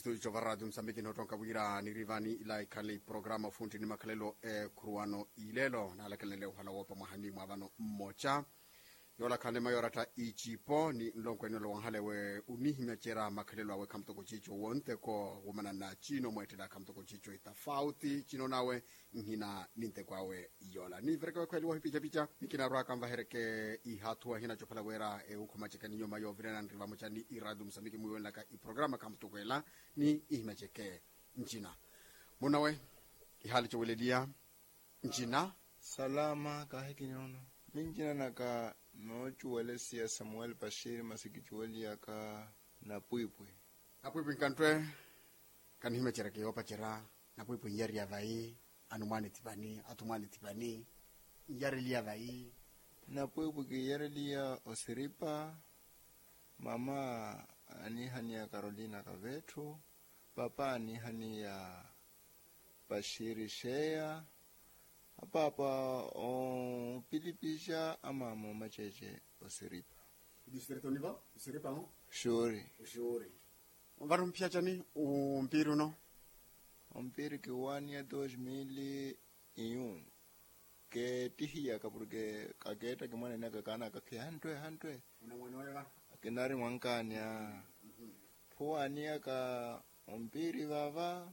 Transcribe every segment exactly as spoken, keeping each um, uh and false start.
Tuico va radio musambiki nottonka wira nirivani ila ikhale iprograma ofunti ni makhalelo ekhuruwano ilelo naalakelenle ohala woopa mwahani mwa vano mmoca. Yoola khanle mayoratta icipo ni nlonkwene olowanhale we unihimya cera makhalelo awe khamutoko cico wonteko womana na cino mwettela khamutoko cico itafauti cino nawe nhina ni nteko awe. Yoola niivereke wekhweliwa hipicapica ni kinarwaka nvahereke ihathuwa hinaco phala wira ewukhuma ceke ni nyuma yoovirana nri vamoca ni iradio musambiki mwiwenlaka iprograma khamutukwela ni ihimya ceke. Ncina munawe ihaali coweleliya. Ncina salama kaahikini ono. Mincina naka noocuwelesiya samuel pashiri masi kicuweliyaka napwipwi. Napwipwi nkanttwe. Kanihimya cereke yoopacerya napwipwi nyariya vayi. Anumwaani thipani athumwaani thipani nyareliya vayi. Napwipwi kiiyareliya osiripa. Mama anihaniya karolina kavetthu. Papa anihaniya paxiri xeya. Apaapa opilipixa amaama omacece osiripa. Distrito nivo osiripa mo. Xuri. Xuri. Vano mphiyacani umpiri uno? Umpiri kiwaniya dos mil iyun. Keettihiyaka porke kakeetta kimwanenaka kaanaka khihanttwe hanttwe. Kinari mwankaani a phuwaniyaka ompiri vava.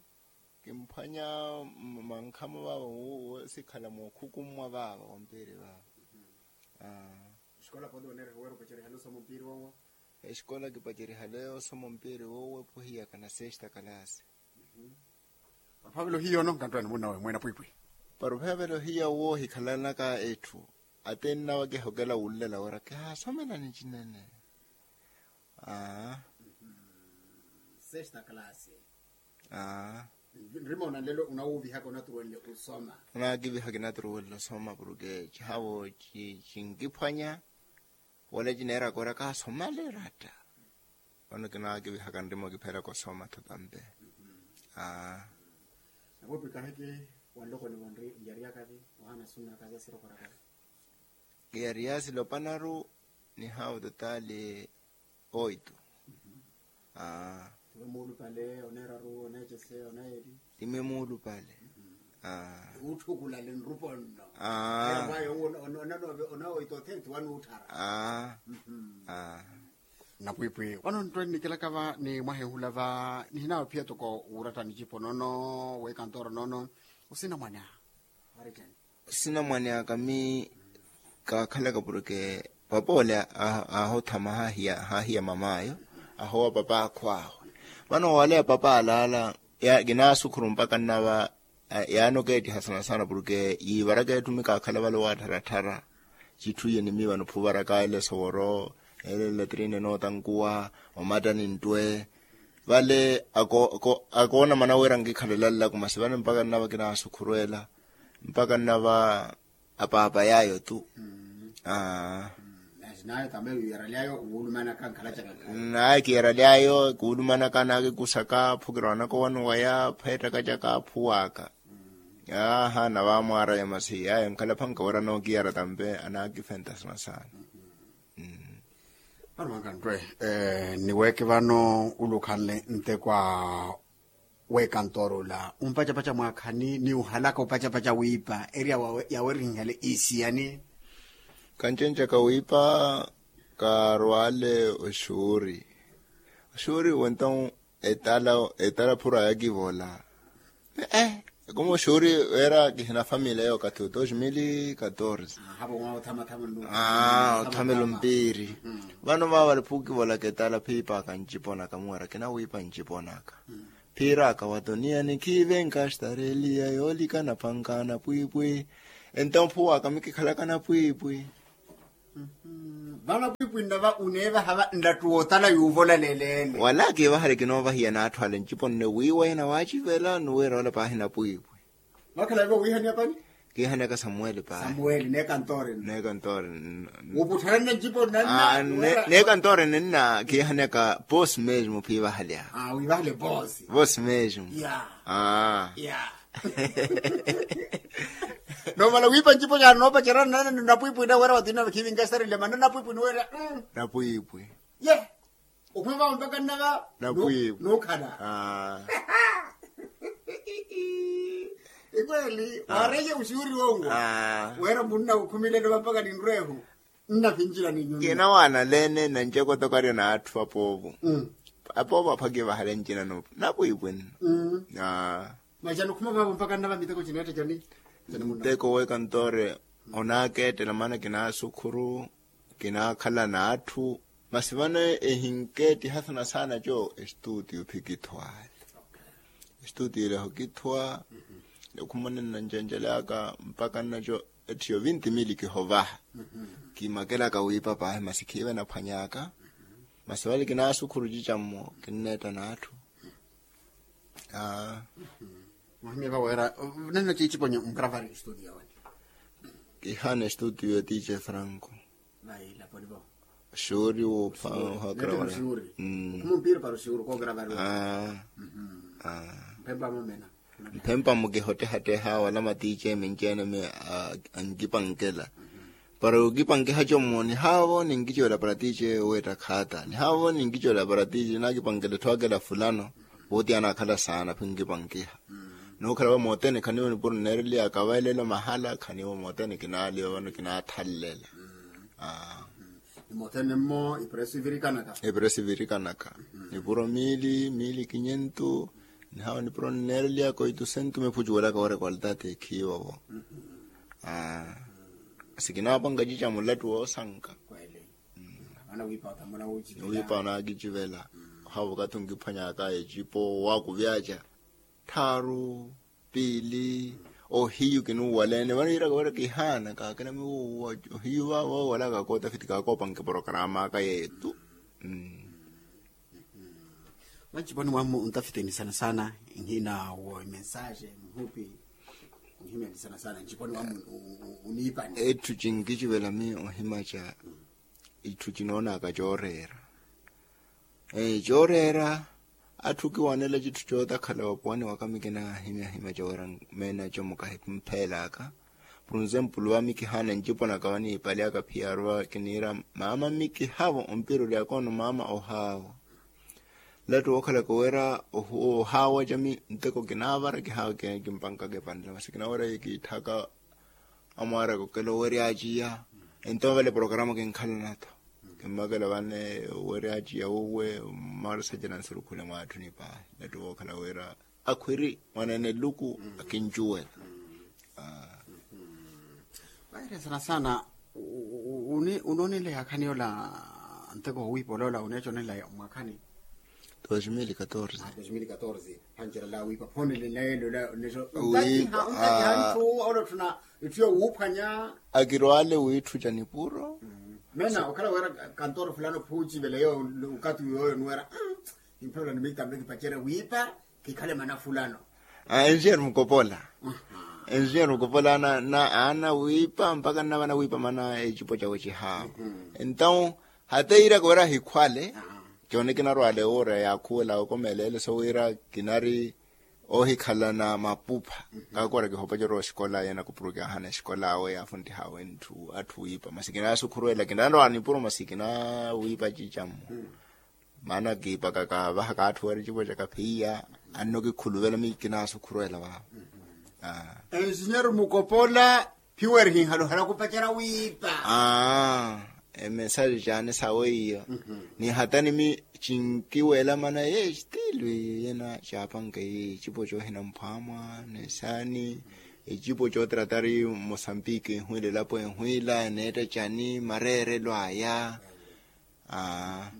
Kimphwanya mankhamo vava wosikhala mookhukummwa vava ompiri vava. Aa. Esikola kipacerihale osoma ompiri wowo ephuhiyaka na sesta kalasi. Paruphavelo hiyo no nkanttwani munawe mwena pwipwi. Paruphavelo hiyo woohikhalanaka etthu ate nnawe kihokela wunlela wira kihaasomelani cinene. Aa. Sesta kalasi. Aa. Nrima onanlelo unawuuvihaka onaturuwenle osoma. Onakiviha kinaturuwenle osoma porke cihavo cinkiphwanya. Wala cineeraka wira kaasomale ratta. Vano kinaakivihaka nrima okipheraka osoma tho tampe. Aa. Napwipi kahiki wanlokoni vonri njariyakavi ohana sunnakavi asirokorakavi. Kiyariya silopanaru ni haawu totali oito. Aa. Tiwe muulupale oneeraru oneecese oneeli. Timi muulupale. Aa. Utthukulale nrupo nno. Aa. Ayo mwayo onano oito thenti wanuutthara. Aa. Napwipwi vano nttwe nnikilaka va ni mwahenhula va nihinawe phiya toko wuuratta nicipo nono wekantoro nono. Osina mwana ari cani? Sinamwane akami kaakhalaka porke papa ole aahothama haahiya mamaayo. Ahoowa papa akhwaawe vano waleya papa alaala. Kinaasukhuru mpaka nnava yaani okeettiha sana sana porke yiivaraka etthu mikaakhala vale owattharattara. Citthu iye nimi vano phuvaraka ele soworo ele latrine nootankuwa omattani nttwe. Vale akoona mana wira nkikhalela nlaku masi vale mpaka nnava kinaasukhuru ela. Mpaka nnava apaapa yaayo tu. Aa. Naye kiyaraly'ayo kuulumanaka nkhalacaka nkhala. Naye kiyaraly'ayo kuulumanaka anaakikusaka phukira wanaka owano waya pheettaka caka aphuwaka. Aaha navaamwaaraya masi ayo nkhalaphanka wira anookiyara tampe anaakifenta sana sana. Vano mwankanttwe nniweeke vano ule okhanle nteko a wekantooro ula ompacapaca mwaakhani ni ohalaka opacapaca wiipa eri yawerihihale isiyani? Kancencaka wiipa kaarwale oxuuri. Oxuuri wenton etala etala phura yakivola. Ee ekoma oxuuri weera kihina famili eyo okathi wa dos mil katorze. Aa othamela ompiiri. Vano vaavale phukivolaka etala phiipaka nciponaka muwera kinawiipa nciponaka. Phiiraka watoniyani khiivenka xtareliya yoolikana phanka napwiipwi. Entamphu waka mikikhalaka napwiipwi. Vano pwiipwi nnava uneevaha va nlattu wootala yuuvola leleene. Wala kiivahale kinoovahiya n'atthu ale ncipo nne wiiwa ina waacivela ni wira ola paahi napwiipwi. Mwakhala eve wiihaniya pani? Kiihaniyaka samuweli paahi. Samuweli neekantoori nne. Neekantoori nne. Wuputthalanne ncipo nnanna neekantoori nne nna kiihaniyaka poosi mesmo phiivahale aa. Wiivahale poosi. Poosi mesmo. Aa. Noomala wiipa ncipo caani noopacerya nnanna ni napwiipwi na wira watinna khiivinka esitarile manna napwiipwi ni wira. Napwiipwi. Ye. Okhuma vavo mpaka nnava. Napwiivo. Nuukhala. Ikweli. Waareiye uxuuri wonwo. Weera munna ukhumile nova mpaka ninrweehu. Nnavinjila ni nyunyu. Kinawaanaleene nancekotokaryo n'atthu apoovo. Apoovo aphwakiye vahale ncina. Napwiipwinno. Masi anokhuma vavo mpaka nnava miteko cineetta cani? Nteko w'ekantoore onaakeettela maana kinaasukhuru, kinaakhala n'atthu. Masi vano ehinkeettiha sana sana co estuutiyo phikithwaale. Estuutiyo eleho kithwa. Ekhumane nnancencelaka mpaka nnaco ettiyo vinti mili kihovaha. Kimakelaka wiipa paahi masi khiive naphwanyaka. Masi vale kinaasukhuru cicammo kinneetta n'atthu. Muhimye vaweera. Nenno ciiciponyo nkravari estuutiyo wene? Kihaana estuutiyo ya tiice franco. Vai laponivo. Xuri wopha. Ohakravari. Khumumpiri para oxuuri koogravari. Mphempa mumena. Mphempa mukihottehatteha wala matiice minceene mi ankipankela. Para okipankiha commo nihaavo ninkicivela para tiice weetta khaata nihaavo ninkicivela para tiice naakipankela etthu akela fulano. Wooti anaakhala saana phi nkipankiha. Nookhala va mootene khaniivo nipuro nneereliyaka va elelo mahala khaniivo mootene kinaaliwa vano kinaathallela. Ni mothene mmo ipresu ivirikanaka. Ipresu ivirikanaka. Nipuro miili miili kinyentu. Nihawa nipuro nneereliyaka oitusentu mephucuwelaka woorekwaltata ekhiiwovo. Sikinaapanka cica mulattu woosanka. Wiipa onaakicivela. Ohawa okathi onkiphwanyaka ecipo waakuvyaca tthaaru piili. Ohiyu kinuuwaleene vano yiiraka wira kihaana kaakina miwuuwa. Ohiyu vaavo wala kakootafiti kaakoopanke porokaramaka yeetu. Mwa nciponi mwammu ontafiteni sana sana nhina wo imensaxe muhupi. Nhimyani sana sana nciponi mwammu uniipani etthu cinkicivela mi ohimaca. Itthu cinoonaka cooreera. Cooreera atthu kiwanela citthu cootakhala vapuwani waka mikinahimyahimya cooreera. Meena comukahi mpheelaka. Por ensempulu va mikihaana nciponaka vaniipalyaka phiyaaru va kiniira maama mikihavo ompira oryaka ono maama ohaavo. Lattu wookhalaka wira ohaawa cami nteko kinaavara kihaawa kimpankaka epanela masi kinawerya kiitthaka. Amwaaraka okela owerya aciya. Ento vale programa kinkhalana-tho. Kimmakela vane owerya aciya wuuwe. Mmaarisa cana nsurukhule mwaatthuni paahi lattu wookhala wira akhwiri mwaneene eluku akincuwela. Vaire sana sana. Unoonela yakhani yola nteko wowiipa oloola uneeconela mwakhani? Dos mil katorze. Dos mil katorze. Phancerela wiipa phonelelaye lola. Ntatiha ntatiha nthu olotthuna itthu yowuuphwanya. Akirwaale wiitthuca nipuro. Mena okhala wira kantoro fulano phuucivela yo. Ukati uyoyo nuwera. Imphelola nimittambe kipacerya wiipa kikhale mana fulano. Enjeru mukopola. Enjeru mukopola ana ana wiipa mpaka nnavana wiipa mana ecipo cawe cihawa. Entawu hata yiiraka wira ahikhwale. Cooni kinarwale wuura yaakhuwela okomelela so wira kinari ohikhalana mapupha. Kaakora kihopa corowa oxikola yena kupuruki ahana exikola awe yaafuntiha awe ntthu atthu wiipa masi kinasukhuruwela kinanrowa nipuro masi kinawiipa cicammo. Maana kiipaka kaavahaka atthu wira ecipo caka phiya. Anno kikhuluvela mi kinasukhuruwela vaavo. Ensinyeri mukopola. Phiwerihinhala ohala kupacerya wiipa. Aa. Emensaji caani sawe iyo. Ni hatani mi cinkiwelamana ye estilu iyo yena caapanke yi ecipo coohina mphwamwa ni saani. Ecipo cootratari mosambiki enhwiila elapo enhwiila eneetta cani mareerelo aya. Aa.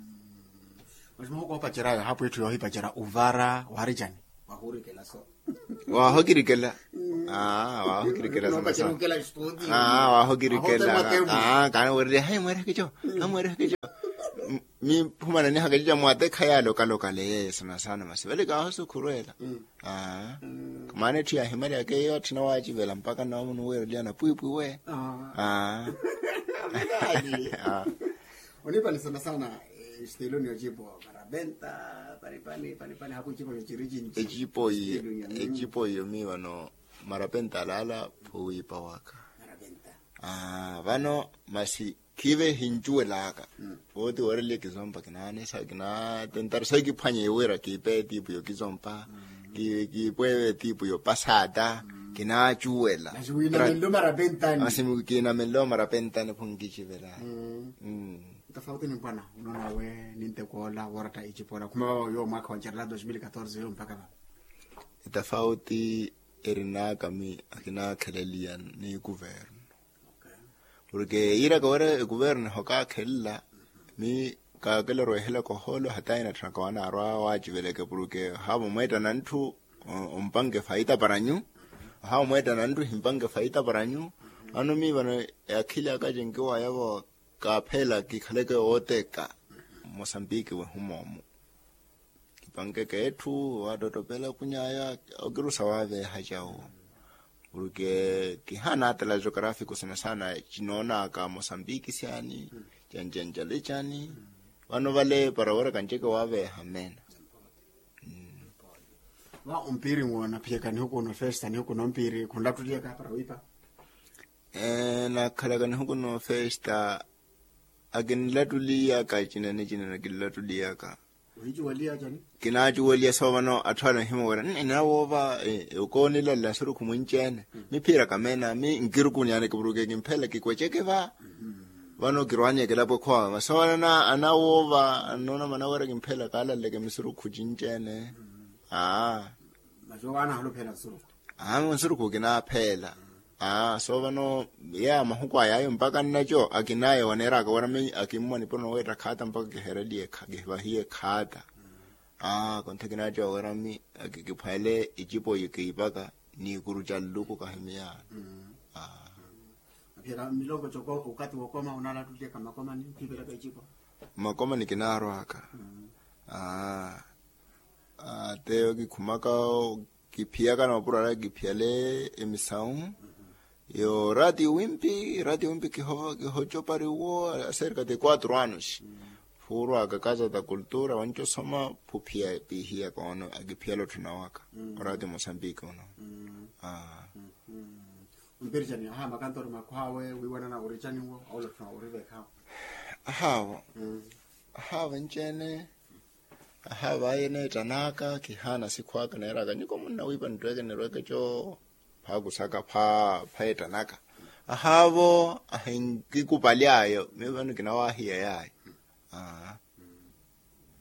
Masi muhoko oopacerya ayo hapwitthu yoohipacerya uvara waari cani? Waahokirikela. Waahokirikela sana sana. Waahokirikela. Kaani wereriya hayi mweereke co. Hayi mweereke co. Miphumananihaka cica mwatekha yaale okalokale yeeyo sana sana masi vale kaahosukhuruwela. Maana etthu yaahimalyaka eyo atthina waacivela mpaka nnawo munuweereliya napwiipwi we. Oniipani sana sana. Esteloni ocipo parapenta. Panipani panipani haku ecipo cociri cinci. Ecipo iyo. Ecipo iyo mi vano marapenta alaala phuwiipa waka. Vano masi Khiive hincuwelaka. Wooti wooreliye kizompa kinaanisa kinaatentari sayi kiphwanye wira kiipe etiipu yokizompa, kiipweeve etiipu yopasaata. Kinaacuwela. Masi wiinamenle omara pentani. Masi kiinamenle omara pentani pho nkicivela. Tofauti ni mpwana unoona we nintekoola wooratta icipoola khuma vava yoowo mwaakha wa ncerela dos mil katorze yoowo mpakha vava. Etafauti erinaka mi akinaakheleliya ni kuvernu. Porke yiiraka wira ekuvernu ehokaakhelela mi kaakela orwehelaka ohoolo hata inatthunaka wanaarwa waaciveleke porke ohaava omweettana ntthu ompanke faita para nyu. Ohaava omweettana ntthu ohimpanke faita para nyu. Ano mi vano akhili aka cinkiwaya vo kaapheela kikhaleke wooteka mosambiki wehumoomu. Kipankeke etthu waattottopela kunyaya okirusa waaveeha cawo. Porke kihaana atala geografiku sana sana cinoonaka mosambiki syani, cancancale cani. Vano vale para wira kanceke waaveeha mmeena. Va ompiiri nwoona phiyaka nihuku no festa nihuku no mpiiri khunlattuliyaka para wiipa. Nakhalaka nihuku no festa akinlattuliyaka cinene cinene akinlattuliyaka. Kinaacuweliya soovano atthu ale anhimowera nnawoova okoonilalela nsurukhu mwinci-ene. Miphiiraka meena mi nkirukuni aneke porke kimpheela kikweceke va. Vano kirwaanyeke elapo ekhowaka soovano anawoova annoona manawera kimpheela kaalalaleke misurukhu cinci-ene. Aa. Masi owaana ahulupheela nsurukhu. Aa nsurukhu kinaapheela. Aa soovano yeeya mahuku ayaayo mpaka nnaco akinaya waneeraka wira mi akimmwa nipuro noweetta khaata mpaka kihereliye kihivahiye khaata. Aa kontha kinaco wira mi akikiphwele icipo yikiipaka n'ikuru ca nluku kahimiyaano. Aphiyaka milongo coko okati wokoma onalattuliyaka makomani khiipelaka icipo. Makomani kinaarwaka. Aa ateyo kikhumaka kiphiyaka na mapuro alaya kiphiyale emisau. Yo rati wimpi rati wimpi kihocopari wo aserka de quatro anos. Phuurwaka casa da cultura wanci osoma phuphiya pihiya koono akiphiyala otthuna waka. Orati mosambiki uno. Aa. Ompiricani aha makantoro makhw'awe wiiwanana oricaniwo aulotthuna oriveekhawo. Ahaawo. Ahaawo enci-ene. Ahaavo aye neettan'aka kihaana sikhw'aka neeraka nyuko munnawiipa nirweeke nirweeke co. Phaakusaka pha pheettan'aka. Ahaavo ahinkikupaly'ayo miyo vano kinawaahiya yaayo. Aa.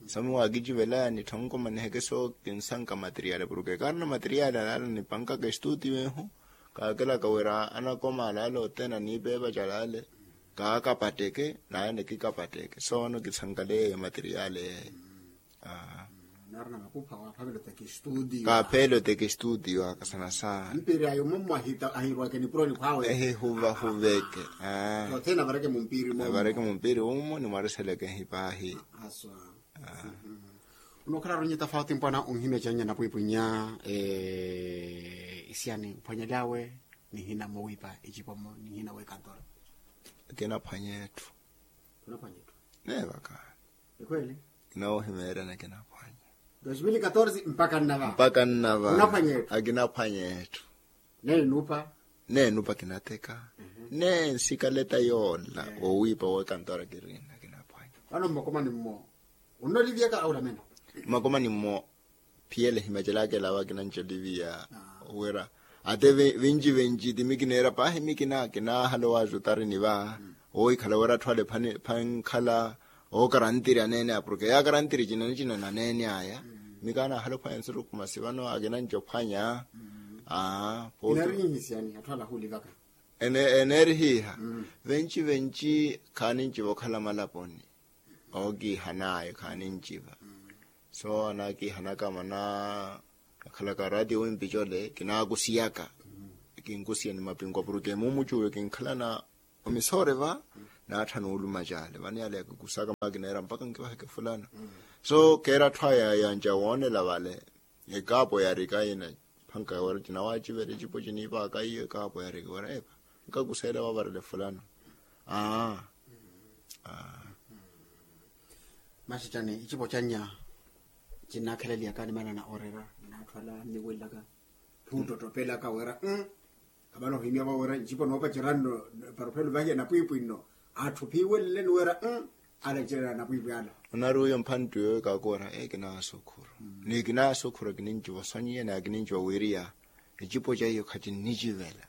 Soomi waakicivelaya nitthonkomaniheke sookinsanka materiali porke kaarina materiali alaala nipankaka estuutiyo ehu. Kaakelaka wira anakoma alaala othene aniipeepa calaale kaakapatteke naaya nikikapatteke soono kisankaleya eyo materiali eyo. Aa. Naarina makupha waaphavela oteka estuutiyo. Kaapheela oteka estuutiyo aka sana sana. Mpiiri ayo mummo ahirwake nipuroni khwawe. Ehihuvahuveke. Aa. Othene avareke mumpiiri mummo. Avareke mumpiiri mummo nimwariseleke ehipaahi. Aswa. Unookhala aronye tafauti mpwana onhimya canya napwiipwinya. Isiyani mphwanyelyawe nihina mowiipa icipomo nihina wekantora. Kinaphwanya etthu. Kinaphwanya etthu. Neevaka. Ekhweli. Kinoohimeeryana kinaphwanya. Dos mil katorze mpaka nnava. Mpaka nnava. Kinaphwanya etthu. Akinaphwanya etthu. Neenupa. Neenupa kinateka. Neensikaleta yoola wowiipa wekantora kirina kinaphwanya. Vano mmakomani mmo. Unnolivyaka aulamena. Mmakomani mmo. Phiyele himacelaka elawa kinanca oliviya. Wira ate vinci vinci ti mi kineera paahi mi kina kinaahala owaaza otarini va. Oohikhala wira atthu ale phankhala ookarantiri aneene aya porke yaakarantiri cinene cinene aneene aya. Mi kaanaahala ophwanya nsurukhu masi vano akinanca ophwanya. Aa. Eneerihiha. Venci venci khaaninciva okhala malaponi. Ookiihan'aya khaaninciva. So anaakiihanaka mana akhalaka ratio wimpi cole kinaakusiyaka. Kinkusiya ni mapinkwa porke mumucuwe kinkhalana omisoore va. Naatthana ooluma cale vano yale yakikusaka makineera mpaka nkivaheke fulana. So keera atthu aya yanca woonela vale. Ekaapo yaarika yina phanka wira cinawacivela ecipo ciniipaaka iyo ekaapo yaarika wira epa nkakuseela wavarele fulano. Aa. Aa. Maxi cani ecipo cannya cinnaakheleliyaka nimanana orera naatthu ala nniwelelaka. Thuuttottopelaka wira. Khamana ohimyavo wira ncipo noopacerya nno. Para ophela ovahiya napwiipwi nno. Atthu phiiweleleni wira. Alecerya anapwiipwi ala. Onari uyo mphantti uyo kakoora ee kinaasukhuru, ni kinaasukhuru akininci vasonyiya ni akininci vawiriya. Ecipo ca hiyo khacinnicivela.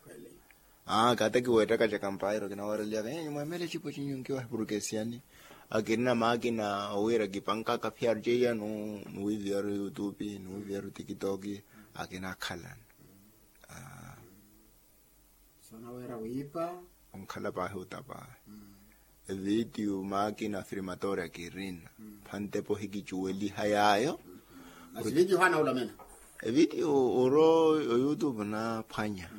Aa kaataki weettaka ca kampairo kinawooreliyaka ee nyumwa emela ecipo cinyu nkiwahi purukesiyani. Akirina maakina owiira kipankaka phiyaruceiya nuwiiviyaru yutupi nuwiiviyaru tikitoki. Akinakhalana. Soonaweera wiipa. Onkhala paahi otapaahi. Evitiyu maakina afirmatoori akirina. Phantepo hikicuweliha yaayo. Masi vitiyu haana olamena. Evitiyu oro oyutupu naphwanya.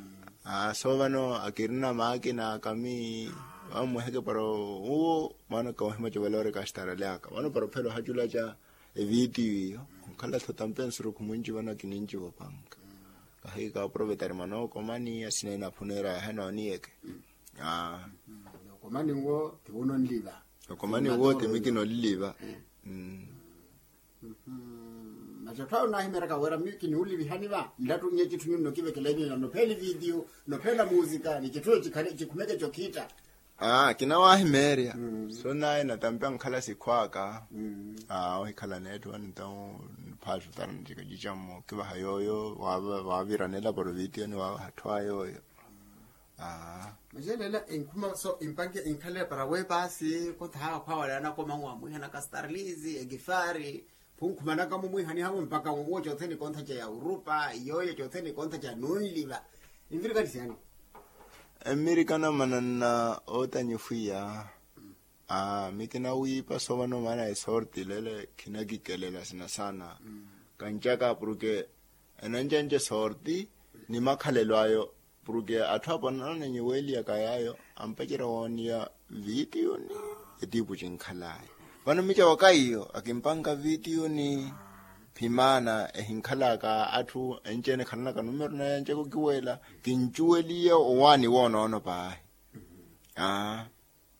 Aa so vano akirina maakina akami. Vammweheke para uwo maana kawahimaca vale ori kastarale aka vano para ophela ohaculaca. Evitiyu iyo onkhala-tho tampensurukhu mwinci vano akininci vopanka. Kahi kaaprovetari mwana okomani asina enaphuneera yahe nooniyeke. Okomani nwo ti wunonliva. Okomani nwo ti mi kinonliva. Masi otthu awo naahimeeraka wira mi kiniwulivihani va nlattunnye citthu nyunno kivekela enyu nopheela evitiyu nopheela muusika ni citthu eyo cikhale cikhumeke cokhitta. Aa kinawahimeerya. So naye natampi ankhala sikhwaaka. Aa ohikhala neetthu vano entawu niphaatutana ncikacicammo kivaha yooyo. Waaviranela para ovitiyo ni waaviha atthu a yooyo. Aa. Maxelela enkhuma so empanke enkhalele para weepaasi kontha haakhwawale anakomangu amwiihana kastarlizi ekifari. Phunkhumanaka mumwiihanihamu mpakha mumuwo cothene kontha ca yaurupa iyooyo cothene kontha ca nunliva. Envirikani siyani. Emmirikana mananna ootanyifwiya. Aa mi kinawiipa so vano maana esorti lele khinakikelela sina saana. Kancaka purke enancanca esorti ni makhalelo ayo. Purke atthu apo anananyiweliyaka yaayo ampacerya wooniya vitiyuni. Etiipu cinkhalaya vano mica waka iyo akimpanka vitiyuni. Phimaana ehinkhalaka atthu enci-ene ekhalanaka numero naye ancaka okiwela kincuweliye owaani woonoono paahi. Aa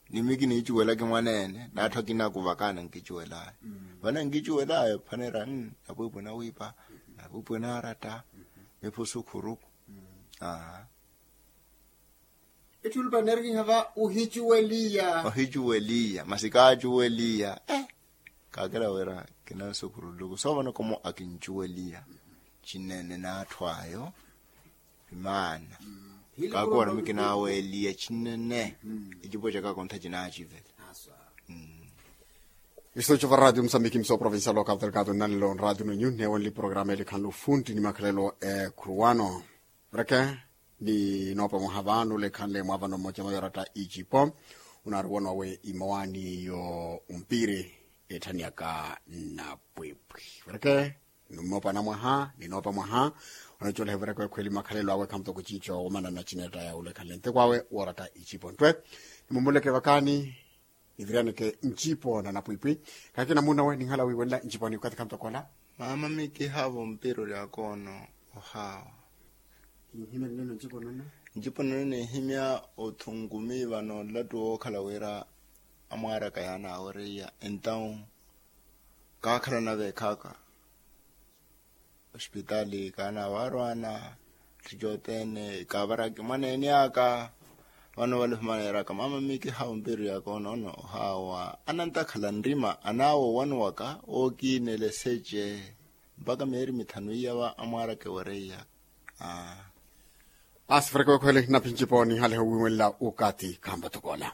ni mi kiniicuwelaki mwaneene n'atthu akina akuvakana nkicuwelaya. Vano nkicuwelaya ophaneera napwiipwi nawiipa napwiipwi naaratta. Miphusu khuruku. Aa. Etthu olupa nneerikiha va ohicuweliya. Ohicuweliya masi kaacuweliya. Kaakela wira kinansukhuruluku so vano komo akincuweliya. Cinene n'atthu ayo imaana. Kaakela wira mi kinaweliya cinene. Ecipo caka kontha cinacivela. Isto cova radio musambiki mso provincial local delgado nalelo nradio nonyu neewenle programa elikhanle ofunti ni makhalelo ekhuruwano. Vreke ni noopa mwaha vano lekhanle mwaavano mmoja mayoratta icipo. Onaari woona owe imowaani yo ompiri etthaniyaka napwipwi. Vreke ni noopa mwaha ni noopa mwaha. Onacoleha vreke wekhweli makhalelo awe khamutoko cinco womanana cinetta ya olekhanle ntekwawe wooratta icipo nttwe. Nimumuleke vakani niviriyaneke ncipo na napwipwi. Kakina munawe ninhala wiiwelela ncipo ni okathi khamutoko ola. Maama mikihaavo mpira ori akoono ohaawa. Kinhimya nino ncipo nono. Ncipo nono ninhimya othungumi vano nlattu wookhala wira amwaaraka yaanaawereiya entawu kaakhalana veekhaaka. Ospitaali kaanaawarwaana tticoteene kaavaraki mwaneene aka. Vano vale ohumaneeraka maama mikihaavo mpiru yaka onoono ohaawa anantakhala nrima anaawa owanuwaka ookiinela eseche. Mpakha meeri mithanu iya va amwaaraka ewereiya. Aa. Aasi fureke wekhwele naphinci pooni haleho wiiwenla okathi khampatokoola.